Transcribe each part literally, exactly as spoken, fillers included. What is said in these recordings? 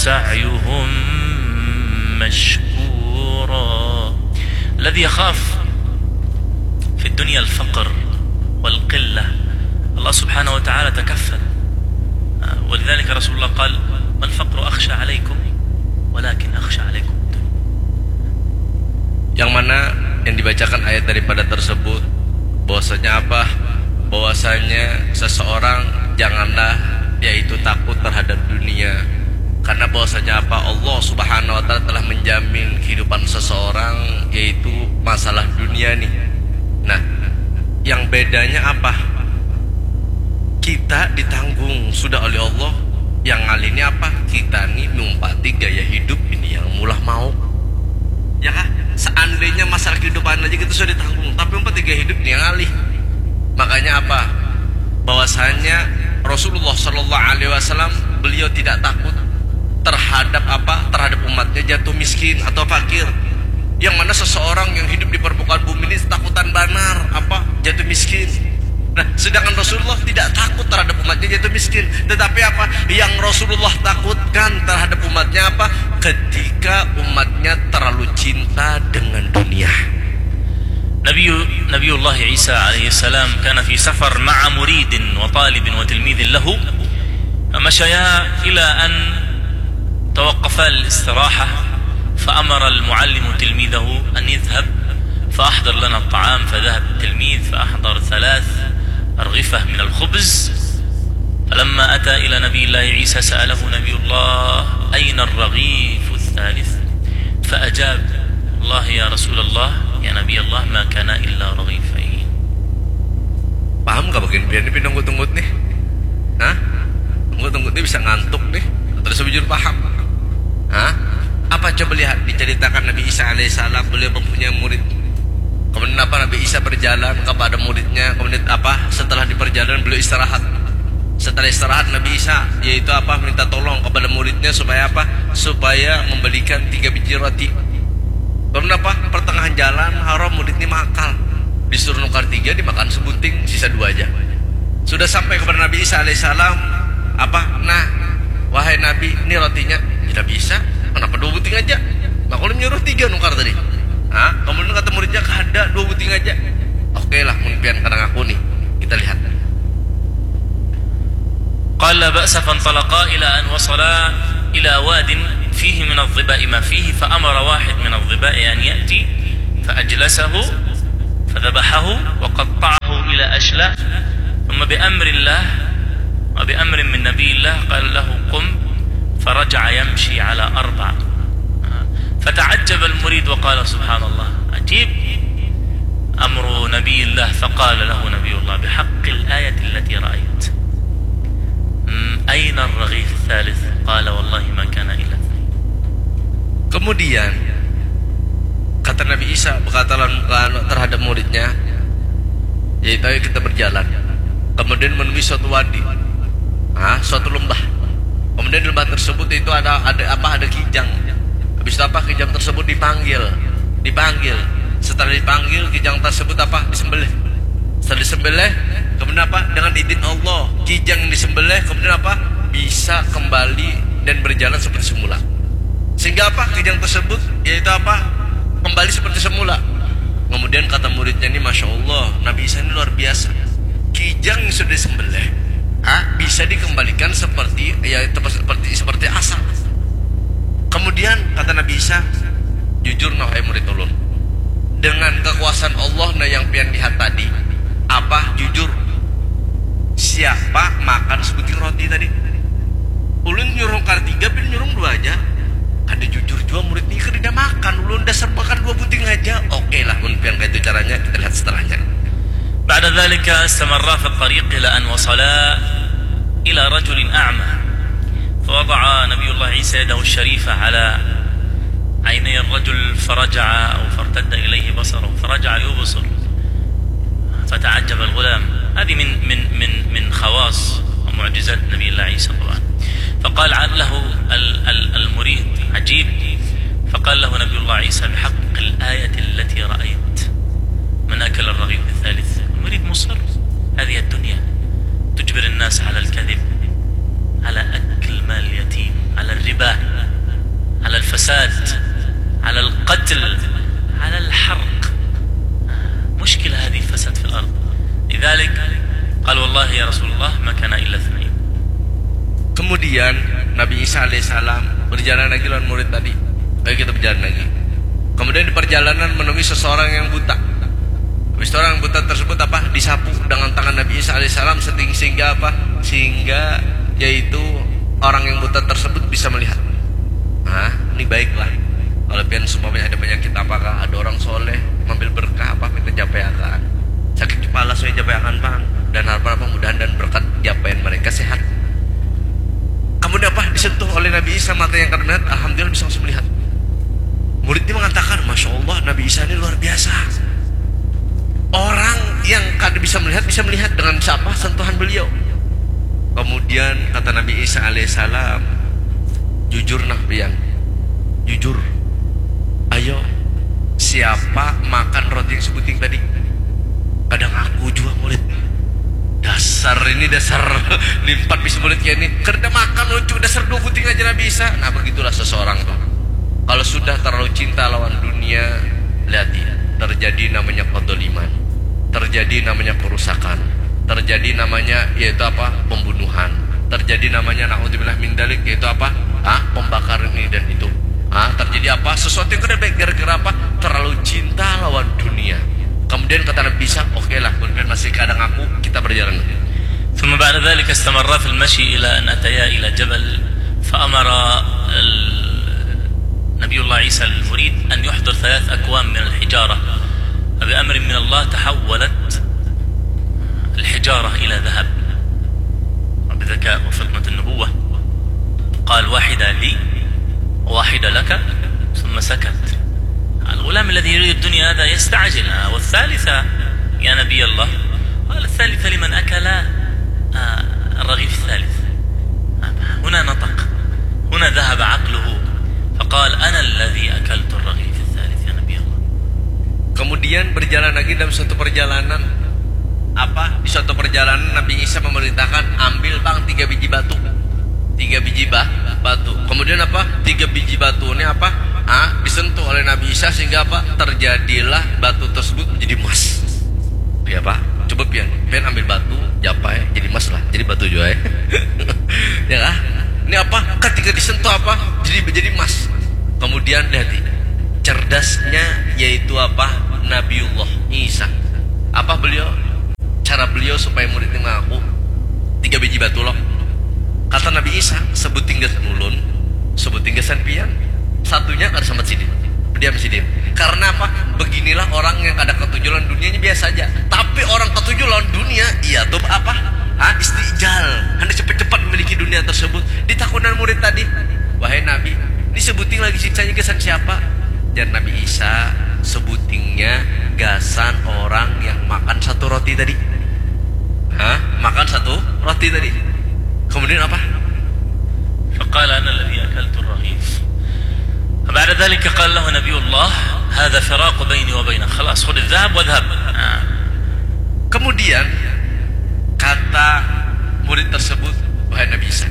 سعيهم مشكورا. الذي يخاف في الدنيا الفقر والقلة، الله سبحانه وتعالى تكفل. ولذلك رسول الله قال: "ما الفقر أخشى عليكم، ولكن أخشى عليكم الدنيا." Yang mana yang dibacakan ayat daripada tersebut, bahwasanya apa? Bahwasanya seseorang janganlah yaitu takut terhadap dunia. Karena bahwasanya apa? Allah Subhanahu wa taala telah menjamin kehidupan seseorang, yaitu masalah dunia nih. Nah, yang bedanya apa? Kita ditanggung sudah oleh Allah. Yang ngalih ini apa? Kita nih numpati gaya hidup ini yang maulah mauk. Ya kah? Seandainya masalah kehidupan aja kita sudah ditanggung, tapi numpati gaya hidup ini yang ngalih. Makanya apa? Bahwasanya Rasulullah Shallallahu Alaihi Wasallam, beliau tidak takut terhadap apa? Terhadap umatnya jatuh miskin atau fakir. Yang mana seseorang yang hidup di permukaan bumi ini takutan banar apa? Jatuh miskin. Nah, sedangkan Rasulullah tidak takut terhadap umatnya jatuh miskin. Tetapi apa? Yang Rasulullah takutkan terhadap umatnya apa? Ketika umatnya terlalu cinta dengan dunia. نبي نبي الله عيسى عليه السلام كان في سفر مع مريد وطالب وتلميذ له، فمشيا إلى أن توقفا للاستراحة، فأمر المعلم تلميذه أن يذهب فأحضر لنا الطعام، فذهب التلميذ فأحضر ثلاث أرغفة من الخبز. فلما أتى إلى نبي الله عيسى سأله نبي الله: "أين الرغيف الثالث؟" فأجاب: "والله يا رسول الله، يا نبي الله، ما كان إلا رغيفين." Paham gak bagian pian ini pinunggut-unggut nih? Hah? Unggut-unggut ini bisa ngantuk nih. Terus bujur paham. Hah? Apa coba lihat diceritakan Nabi Isa alaihissalam, beliau mempunyai murid. Kemudian apa, Nabi Isa berjalan kepada muridnya, kemudian apa, setelah di perjalanan beliau istirahat. Setelah istirahat Nabi Isa, yaitu apa, minta tolong kepada muridnya supaya apa? Supaya membelikan tiga biji roti. Kemudian apa? Pertengahan jalan, haram murid ini makan. Disuruh nukar tiga, dimakan sebuting, sisa dua aja. Sudah sampai kepada Nabi Isa alaihissalam, apa? Nah, wahai Nabi, ini rotinya. Ya, Nabi Isa, kenapa dua buting aja? Nah, kalau nyuruh tiga nukar tadi. Hah? Kemudian kata muridnya, kada, dua buting aja. Oke lah, mun pian kadang aku nih. Kita lihat. قال لا بأس، فانطلقا إلى أن وصلا إلى واد فيه من الظباء ما فيه، فأمر واحد من الظباء أن يأتي فأجلسه فذبحه وقطعه إلى أشلاء، ثم بأمر الله وبأمر من نبي الله قال له: "قم"، فرجع يمشي على أربع. فتعجب المريد وقال: "سبحان الله، عجيب أمر نبي الله." فقال له نبي الله: "بحق الآية التي رأيت، أين الرغيف الثالث؟" قال: "والله ما كان إلا اثنين." Kemudian kata Nabi Isa berkata terhadap muridnya, yaitu, "Ayo kita berjalan." Kemudian menemui suatu wadi, ah, suatu lembah. Kemudian di lembah tersebut itu ada, ada apa? Ada kijang. Habis itu apa? Kijang tersebut dipanggil, dipanggil. Setelah dipanggil, kijang tersebut apa? Disembelih. Setelah disembelih, kemudian apa? Dengan izin Allah, kijang yang disembelih kemudian apa? Bisa kembali dan berjalan seperti semula. Sehingga apa? Kijang tersebut, yaitu apa? Kembali seperti semula. Kemudian kata muridnya ini, "Masya Allah, Nabi Isa ini luar biasa. Kijang yang sudah disembelih, ah, bisa dikembalikan seperti, ya, seperti, seperti asal." Kemudian kata Nabi Isa, "Jujur nah, wahai murid ulun, dengan kekuasaan Allah nah yang pian lihat tadi, apa jujur, siapa makan sebuting roti tadi? Ulun nyuruh nukar tiga, pian nyuruh dua aja." Kada jujur jua murid ni, kada makan ulun, dasar makan dua buting aja. Oke lah, mun pian kaitu caranya, kita lihat setelahnya. بعد ذلك استمرا في الطريق إلى أن وصلا إلى رجل أعمى، فوضع نبي الله عيسى يده الشريفة على عيني الرجل فرجع أو فارتد إليه بصره فرجع يبصر، فتعجب الغلام. هذه من من من من خواص ومعجزات نبي الله عيسى طبعا. فقال له المريد: "عجيب." فقال له نبي الله عيسى: "بحق الآية التي رأيت، من أكل الرغيف الثالث." المريد مصر، هذه الدنيا تجبر الناس على الكذب، على أكل مال اليتيم، على الربا. الفساد، على القتل، على الحرق. مشكلة هذه الفساد في الأرض. لذلك قال: والله يا رسول الله ما كان إلا اثنين. Kemudian Nabi Isa alaihissalam berjalan lagi lawan murid tadi. Ayo kita berjalan lagi. Kemudian di perjalanan menemui seseorang yang buta. Habis itu orang buta tersebut apa? Disapu dengan tangan Nabi Isa alaihissalam seting-, sehingga apa? Sehingga yaitu orang yang buta tersebut bisa melihat. Nah, ini baiklah. Kalau pian seumpamanya ada penyakit apakah, ada orang soleh, ngambil berkah apa, kita japai akan. Sakit kepala saya japai akan, Bang. Dan harapan apa? Mudahan dan berkat japai mereka sehat. Kemudian apa? Disentuh oleh Nabi Isa mata yang kada melihat, alhamdulillah bisa langsung melihat. Murid ini mengatakan, "Masya Allah, Nabi Isa ini luar biasa. Orang yang kada bisa melihat, bisa melihat dengan siapa? Sentuhan beliau." Kemudian kata Nabi Isa alaihissalam, "Jujur nah pian. Jujur. Ayo, siapa makan roti yang sebuting tadi?" Kada ngaku jua murid. Dasar ini, dasar limpat bisa murid kayak ini. Kada makan lucu, dasar dua buting aja Nabi Isa. Nah, begitulah seseorang tuh. Kalau sudah terlalu cinta lawan dunia, lihat ya, terjadi namanya kedoliman, terjadi namanya kerusakan, terjadi namanya yaitu apa, pembunuhan, terjadi namanya naudzubillah min dalik, yaitu apa, ah, pembakaran ini dan itu. Ah, terjadi apa, sesuatu yang kada baik gara-gara apa, terlalu cinta lawan dunia. Kemudian kata Nabi Isa, "Oke lah, kemudian masih kadang aku, kita berjalan." ثم بعد ذلك استمرا في المشي إلى أن أتيا إلى جبل، فأمر ال- نبي الله عيسى المريد أن يحضر ثلاث أكوام من الحجارة، فبأمر من الله تحولت الحجارة إلى ذهب، بذكاء وفطنة النبوة. قال: "واحدة لي، واحدة لك." ثم سكت. الغلام الذي يريد الدنيا هذا يستعجل. "آه، والثالثة يا نبي الله؟" قال: "الثالثة لمن أكل، آه، الرغيف الثالث." هنا نطق، هنا ذهب عقله، فقال: "أنا الذي أكلت الرغيف الثالث يا نبي الله." Kemudian berjalan lagi dalam suatu perjalanan. Apa? Di suatu perjalanan Nabi Isa memerintahkan, "Ambil, Bang, tiga biji batu." Tiga biji ba-, batu. Kemudian apa? Tiga biji batu ini apa? Ah, disentuh oleh Nabi Isa sehingga apa? Terjadilah batu tersebut menjadi emas. Ya, Pak. Coba pian, pian ambil batu, japai, jadi emas lah. Jadi batu jua, ya. Ya kah? Ini apa? Ketika disentuh apa? Jadi, jadi emas. Kemudian lihat ini. Cerdasnya yaitu apa? Nabiullah Isa. Apa beliau? Cara beliau supaya murid ini mengaku tiga biji batu loh. Kata Nabi Isa, "Sebuting gasan ulun, sebuting gasan pian. Satunya kada sambat sidin." Diam sidin. Karena apa? Beginilah orang yang kada ketuju lawan dunianya biasa aja. Tapi orang ketuju lawan dunia, iya tuh apa? Ah, istijal. Hendak cepat-cepat memiliki dunia tersebut. Ditakunan murid tadi, "Wahai Nabi, ini sebuting lagi sisanya gasan siapa?" Jar Nabi Isa, "Sebutingnya gasan orang yang makan satu roti tadi." Hah? Makan satu roti tadi. Kemudian apa? فقال: "أنا الذي أكلت الرغيف." فبعد ذلك قال له نبي الله: "هذا فراق بيني وبينك، خلاص، خذ الذهب واذهب." Nah. Kemudian kata murid tersebut, "Wahai Nabi Isa,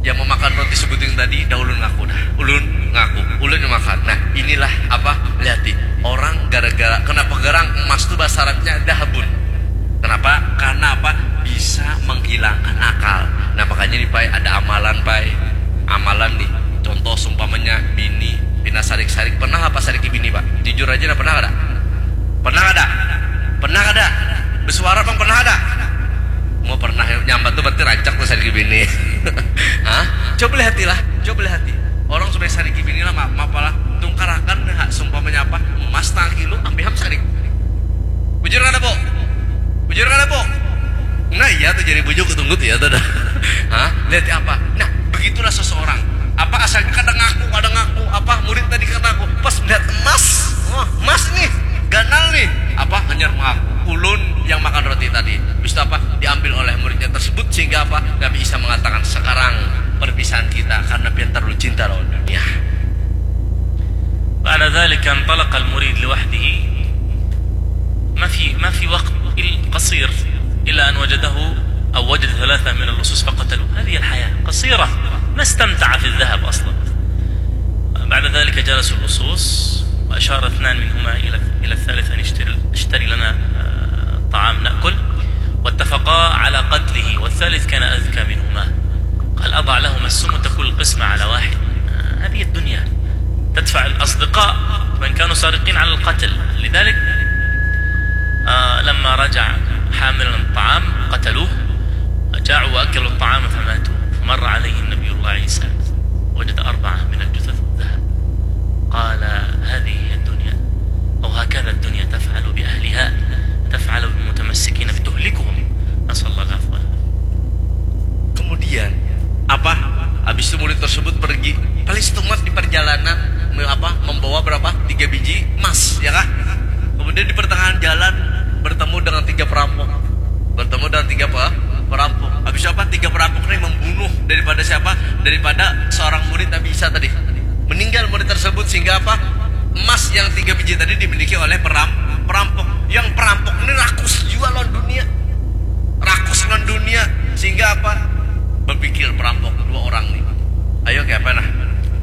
yang memakan roti sebuting tadi, dah ulun ngaku dah. Ulun ngaku, ulun yang makan." Nah, inilah apa, lihati. Orang gara-gara, kenapa garang emas tu bahasa Arabnya dahabun. Kenapa? Karena apa? Bisa menghilangkan akal. Nah, makanya nih, Pai, ada amalan, Pai. Amalan nih. Contoh, seumpamanya bini pina sarik-sarik. Pernah apa sariki bini, Pak? Jujur aja dah, pernah kada? Pernah kada? Pernah kada? Bersuara, Bang, pernah kada? Mau pernah, nyambat tuh berarti rancak tuh sariki bini. Hah? Coba lihatilah, coba lihati. Orang supaya sariki bini lah, maaf, maaf lah. Tungkarakan, nah, seumpamanya apa? Emas setengah kilo, ambil ham sarik. Bujur kada, Bu? Bujur kada, Bu? Nah, iya tuh, jadi bujuk tunggu tuh ya tuh dah. Hah? Lihat apa? Nah, begitulah seseorang. Apa asal kada ngaku, kada ngaku, apa murid tadi kada ngaku. Pas melihat emas, wah, emas nih, ganal nih. Apa hanyar mengaku? Ulun yang makan roti tadi. Habis itu apa? Diambil oleh muridnya tersebut sehingga apa? Nabi Isa mengatakan, "Sekarang perpisahan kita karena pian terlalu cinta lawan dunia." بعد ذلك انطلق المريد لوحده. ما في، ما في وقت إل-، قصير إلا أن وجده أو وجد ثلاثة من اللصوص فقتلوه. هذه الحياة قصيرة، ما استمتع في الذهب أصلا. على واحد. هذه الدنيا تدفع الأصدقاء وإن كانوا سارقين على القتل. لذلك، آه، لما رجع حاملا الطعام قتلوه، جاعوا وأكلوا الطعام فماتوا. فمر عليهم نبي الله عيسى، وجد أربعة من الجثث ذهب. قال: هذه هي الدنيا، أو هكذا الدنيا تفعل بأهلها، تفعل بالمتمسكين بتهلكهم. نسأل الله العفو والعافية. Kemudian apa? Habis itu murid tersebut pergi. Paling setumat di perjalanan me- apa? Membawa berapa? Tiga biji emas, ya kah? Kemudian di pertengahan jalan bertemu dengan tiga perampok. Bertemu dengan tiga pe- perampok. Habis itu apa? Tiga perampok ini membunuh daripada siapa? Daripada seorang murid Nabi Isa tadi. Meninggal murid tersebut sehingga apa? Emas yang tiga biji tadi dimiliki oleh peram- perampok. Yang perampok ini rakus jua lawan dunia. Rakus lawan dunia sehingga apa? Berpikir perampok dua orang nih. Ayo kayak apa nah?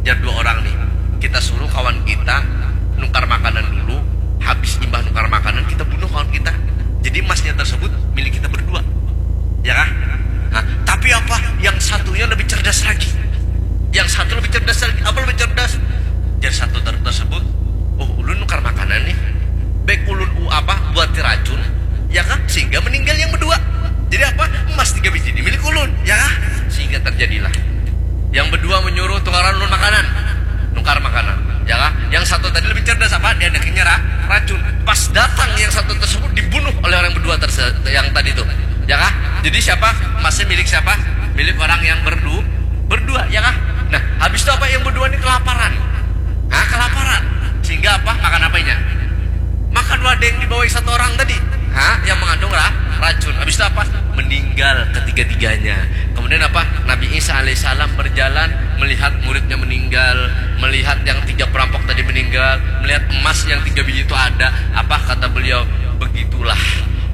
Jar dua orang nih. Kita suruh kawan kita nukar makanan dulu. Habis imbah nukar makanan kita bunuh kawan kita. Jadi emasnya tersebut milik kita berdua. Ya kah? Nah, tapi apa? Yang satunya lebih cerdas lagi. Yang satu lebih cerdas lagi. Apa lebih cerdas? Jar satu ter- tersebut, oh ulun nukar makanan nih. Baik ulun u apa? Buat racun. Ya kah? Sehingga meninggal yang berdua. Jadi apa? Emas tiga biji ini milik ulun. Ya kah? Sehingga terjadilah. Yang berdua menyuruh tukaran ulun makanan. Nukar makanan. Ya kah? Yang satu tadi lebih cerdas apa? Dia anaknya ra- racun. Pas datang yang satu tersebut dibunuh oleh orang berdua terse- yang tadi tuh. Ya kah? Jadi siapa? Emasnya milik siapa? Milik orang yang berdu berdua, ya kah? Nah, habis itu apa yang berdua ini kelaparan? Nah, kelaparan. Sehingga apa? Makan apanya? Makan wadah yang dibawa satu orang tadi. Ha, yang mengandung ra- racun. Habis itu apa? Meninggal ketiga-tiganya. Kemudian apa? Nabi Isa alaihissalam berjalan melihat muridnya meninggal, melihat yang tiga perampok tadi meninggal, melihat emas yang tiga biji itu ada. Apa kata beliau? Begitulah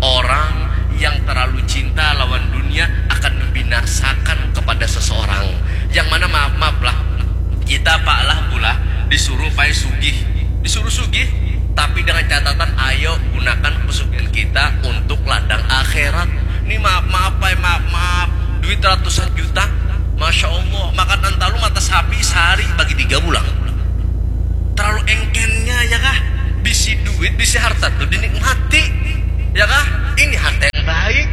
orang yang terlalu cinta lawan dunia akan membinasakan kepada seseorang. Yang mana maaf-maaf lah, kita pak lah pula disuruh pai sugih, disuruh sugih, tapi dengan catatan ayo gunakan pesugihan kita untuk ladang akhirat. Ini maaf-maaf pai, maaf-maaf, duit ratusan juta, masya Allah, makan antalu mata sapi sehari bagi tiga bulan. Terlalu engkennya ya kah? Bisi duit, bisi harta tuh dinikmati, ya kah? Ini harta yang baik.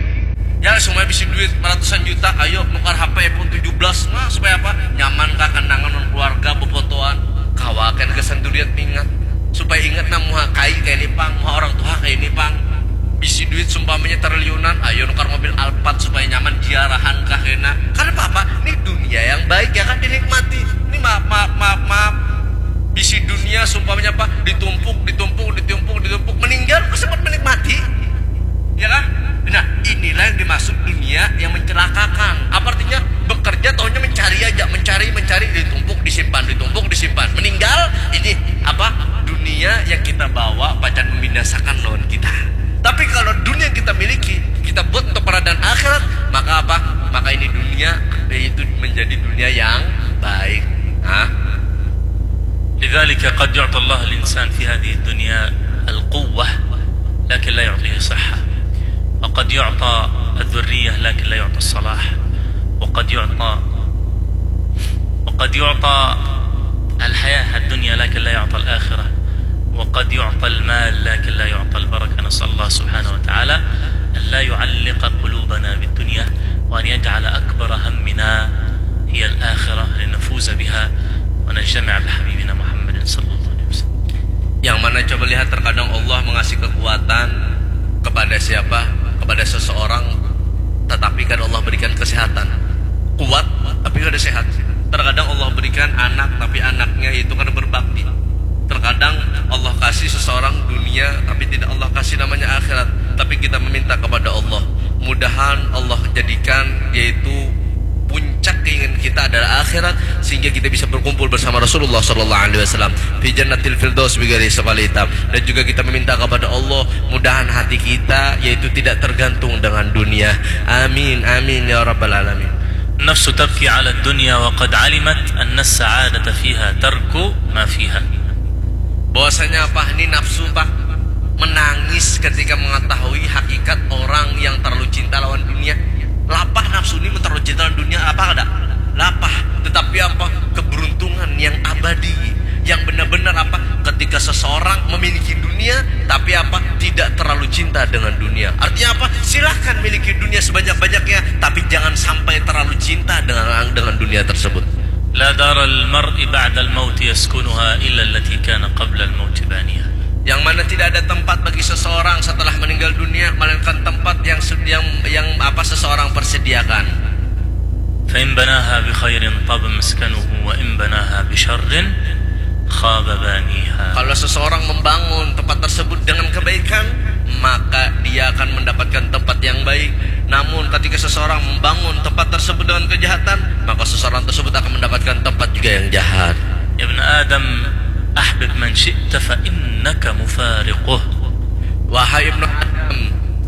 Ya, semua bisi duit ratusan juta, ayo nukar H P iPhone tujuh belas, nah supaya apa? Nyaman kah, kenangan dengan keluarga, befotoan, kawa kan kesan duriat ingat, supaya ingat nah muha kai kayak ini pang, muha orang tua kayak ini pang. Bisi duit sumpamanya triliunan, ayo nukar mobil Alphard supaya nyaman, jiarahan kah kena. Karena apa? Ini dunia yang baik ya kan, dinikmati. Ini maaf, maaf, maaf, maaf. Bisi dunia sumpamanya apa? Ditumpuk, ditumpuk, ditumpuk, ditumpuk. Meninggal kok sempat menikmati? Ya kan? Nah, inilah yang dimaksud dunia yang mencelakakan. Apa artinya? Bekerja tahunya mencari aja, mencari, mencari, ditumpuk, disimpan, ditumpuk, disimpan. Meninggal, ini apa? Dunia yang kita bawa pacan membinasakan lawan kita. Tapi kalau dunia yang kita miliki, kita buat untuk peradaan akhirat, maka apa? Maka ini dunia itu menjadi dunia yang baik. Nah, لذلك قد يعطى الله الإنسان في هذه الدنيا القوة لكن لا يعطيه صحة، وقد يعطى الذرية لكن لا يعطى الصلاح، وقد يعطى وقد يعطى الحياة الدنيا لكن لا يعطى الآخرة، وقد يعطى المال لكن لا يعطى البركة. نسأل الله سبحانه وتعالى أن لا يعلق قلوبنا بالدنيا، وأن يجعل أكبر همنا هي الآخرة لنفوز بها ونجتمع بحبيبنا محمد صلى الله عليه وسلم. Yang mana coba lihat, terkadang Allah mengasih kekuatan kepada siapa? Kepada seseorang, tetapi kan Allah berikan kesehatan. Kuat, tapi kada sehat. Terkadang Allah berikan anak, tapi anaknya itu kada berbakti. Terkadang Allah kasih seseorang dunia, tapi tidak Allah kasih namanya akhirat. Tapi kita meminta kepada Allah, mudahan Allah jadikan yaitu puncak keinginan kita adalah akhirat, sehingga kita bisa berkumpul bersama Rasulullah sallallahu alaihi wasallam fi jannatil firdaus bighairi hisab wala iqab. Dan juga kita meminta kepada Allah, mudahan hati kita yaitu tidak tergantung dengan dunia. Amin, amin ya rabbal alamin. النفس تبكي على الدنيا وقد علمت أن السعادة فيها ترك ما فيها. Bahwasanya apa ini nafsu, Pak, menangis ketika mengetahui hakikat orang yang terlalu cinta lawan dunia. Lapah nafsu ini terlalu cinta lawan dunia, apa kada? lapah, tetapi apa? Keberuntungan yang abadi, yang benar-benar apa? Ketika seseorang memiliki dunia, tapi apa? Tidak terlalu cinta dengan dunia. Artinya apa? Silahkan miliki dunia sebanyak-banyaknya, tapi jangan sampai terlalu cinta dengan dengan dunia tersebut. لا دار المرء بعد الموت يسكنها إلا التي كان قبل الموت بانيها. Yang mana tidak ada tempat bagi seseorang setelah meninggal dunia melainkan tempat yang su- yang yang apa seseorang persediakan. فإن بناها بخير طاب مسكنه وإن بناها بشر خاب بانيها. Kalau seseorang membangun tempat tersebut dengan kebaikan, maka dia akan mendapatkan tempat yang baik. Namun ketika seseorang membangun tempat tersebut dengan kejahatan, maka seseorang tersebut akan mendapatkan tempat juga yang jahat. يا ابن آدم أحبب من شئت فإنك مفارقه. Wahai Ibnu Adam,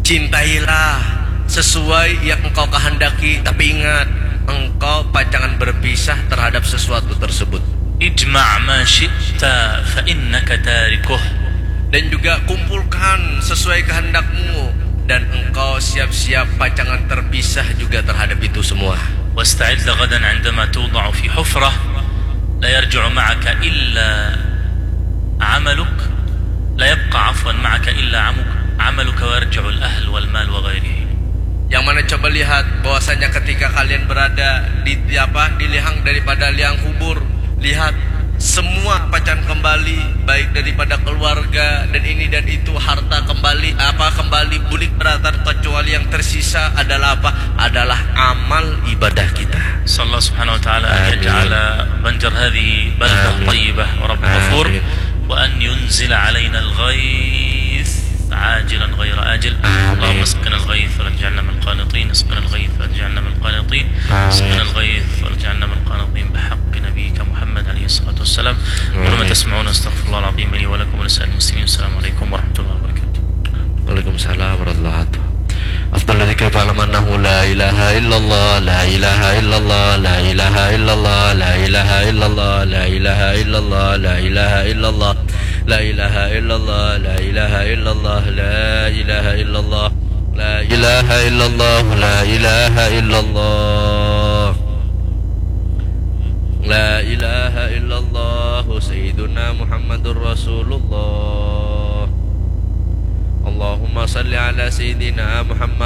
cintailah sesuai yang engkau kehendaki, tapi ingat, engkau pacangan berpisah terhadap sesuatu tersebut. اجمع ما شئت فإنك تاركه. Dan juga kumpulkan sesuai kehendakmu, dan engkau siap-siap pacangan terpisah juga terhadap itu semua. واستعد غدا عندما توضع في حفرة لا يرجع معك إلا عملك، لا يبقى عفوا معك إلا عمك- عملك ويرجع الأهل والمال وغيره. Yang mana coba lihat bahwasanya ketika kalian berada di apa di lihang daripada liang kubur, lihat semua pacan kembali, baik daripada keluarga dan ini dan itu, harta kembali, apa kembali bulik beratan, kecuali yang tersisa adalah apa? Adalah amal ibadah kita. نسأل الله سبحانه وتعالى أن آمين. يجعل بنجر هذه بلدة آمين. طيبة ورب غفور آمين. وأن ينزل علينا الغيث عاجلا غير آجل. آمين. اللهم اسقنا الغيث ولا تجعلنا من القانطين، اسقنا الغيث ولا تجعلنا من القانطين، آمين. اسقنا الغيث ولا تجعلنا من القانطين بحق نبيك محمد عليه الصلاة والسلام. أقول ما آمين. تسمعون، أستغفر الله العظيم لي ولكم ولسائر المسلمين. السلام عليكم ورحمة الله وبركاته. Waalaikumsalam warahmatullahi wabarakatuh. أفضل الذكر فاعلم أنه لا إله إلا الله، لا إله إلا الله، لا إله إلا الله، لا إله إلا الله، لا إله إلا الله، لا إله إلا الله، لا إله إلا الله، لا إله إلا الله، لا إله إلا الله، لا إله إلا الله، لا إله إلا الله. لا إله إلا الله سيدنا محمد رسول الله. اللهم صل على سيدنا محمد